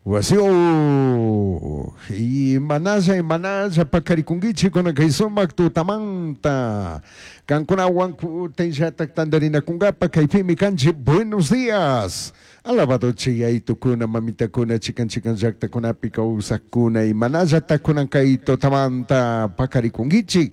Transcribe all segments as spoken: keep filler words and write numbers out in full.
Wasio imanalla imanalla paqarikunkichik kunan kay sumak tutamanta kankunawan kutinllatak tantarinakunkapa kaypimi kanchik. Buenos días, alabado chayaytukuna, mamitakuna, chikan chikan llaktakunapi kawsakuna, imanallatak kunan kay tutamanta paqarikunkichik.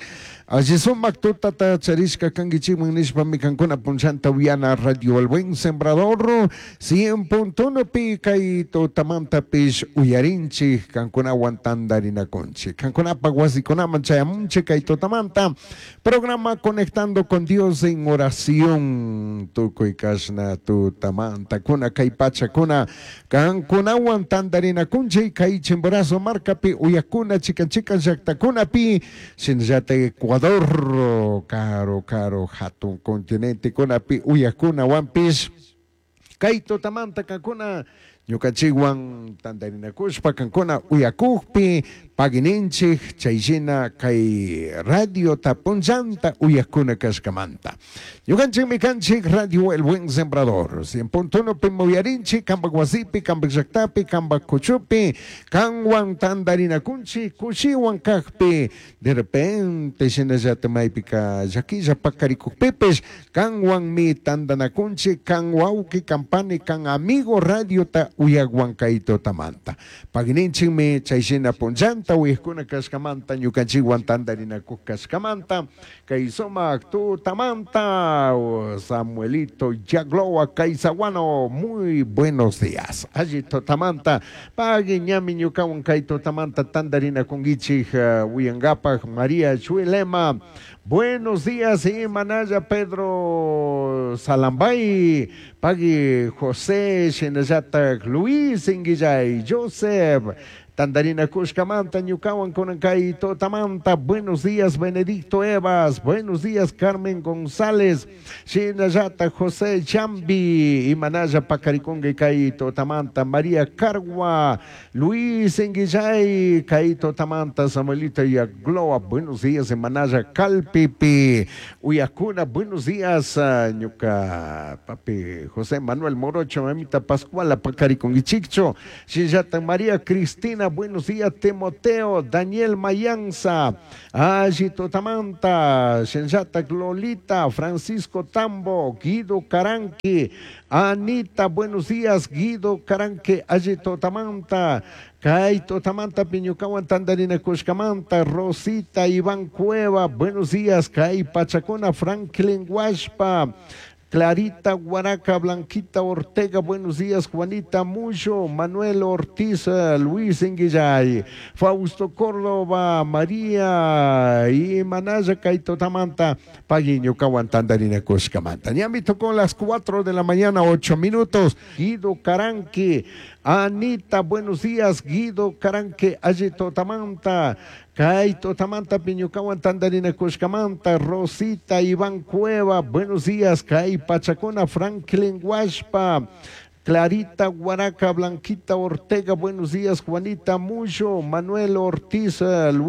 Alli sumak tutata charishka kankichikman nishpami kankuna punchanta uyana Radio El Buen Sembrador cien punto uno pi kay tutamantapish uyarinchik, kankunawan tantarinakunchik, kankunapak wasikunaman chayamunchik kay tutamanta programa Conectando con Dios en Oración. Tukuy kashna tutamanta kuna kay pachakuna kankunawan tantarinakunchik kay Chimborazo markapi uyakuna chikan chikan llaktakunapi, shinallatak Ecuador karo karo hatun continente kunapi uyakunawanpish kay tutamanta kankuna ñukanchikwan tantarinakushpa kankuna uyakukpi pagininchik chayshina kay radio punchanta uyakuna kashkamanta. Ñukanchikmi kanchik Radio El Buen Sembrador cien punto uno pi muyarinchik kampak wasipi, kampak llaktapi, kampak kuchupi kanwan tantarinakunchik kushiwan kakpi de repente shinallata maypika llakilla pakarikukpipish kanwanmi tantanakunchik kan wawki, kan pani, kan amigo radiota uyakwan kay tutamanta. Pagininchikmi chayshina punchanta uyakuna kashkamanta ñukanchikwan tantarinakuk kashkamanta kay sumak tutamanta. Samuelito Yagloa Kaisaguano, muy buenos días. Alli tutamanta pagui ñami ñukawan kay tutamanta tantarinakunkichik, uh, uyankapak María Chuilema. Buenos días, Manaya Pedro Salambay, Pagui José Shinallata Luis Inguillay, Joseph Tandarina Kushkamanta, ñukawan kunankay tutamanta. Buenos días, Benedicto Evas. Buenos días, Carmen González. Shinallata José Chambi. Imanaya Pacaricongue kay tutamanta. María Cargua. Luis Enguillay. Kay tutamanta. Samuelita Yagloa. Buenos días, Imanaya Calpipi. Uyakuna, buenos días, ñuka papi José Manuel Morocho, mamita Pascuala Pacariconguichicho. Shinallata María Cristina. Buenos días, Timoteo, Daniel Mayanza, Alli Tutamanta, Shenjata Lolita, Francisco Tambo, Guido Caranqui, Anita, buenos días, Guido Caranqui, Alli Tutamanta, Kay Tutamanta, Piñucawan, Tandarina Cushcamanta, Rosita, Iván Cueva, buenos días, Kay Pachacona, Franklin Huashpa, Clarita Guaraca, Blanquita Ortega, buenos días, Juanita Mucho, Manuel Ortiz, Luis Enguillay, Fausto Córdoba, María y Manaya Kaito Tamanta, Paguiño Caguantandarina Cuscamanta. Ñami tocó las cuatro de la mañana, ocho minutos. Guido Caranqui, Anita, buenos días, Guido Caranqui, Ayito Tamanta, Kaito Tamanta, Piñucawan, Tandarina Cuscamanta, Rosita, Iván Cueva, buenos días, Kay Pachacona, Franklin Huashpa, Clarita Guaraca, Blanquita Ortega, buenos días, Juanita Mucho, Manuel Ortiz, Luis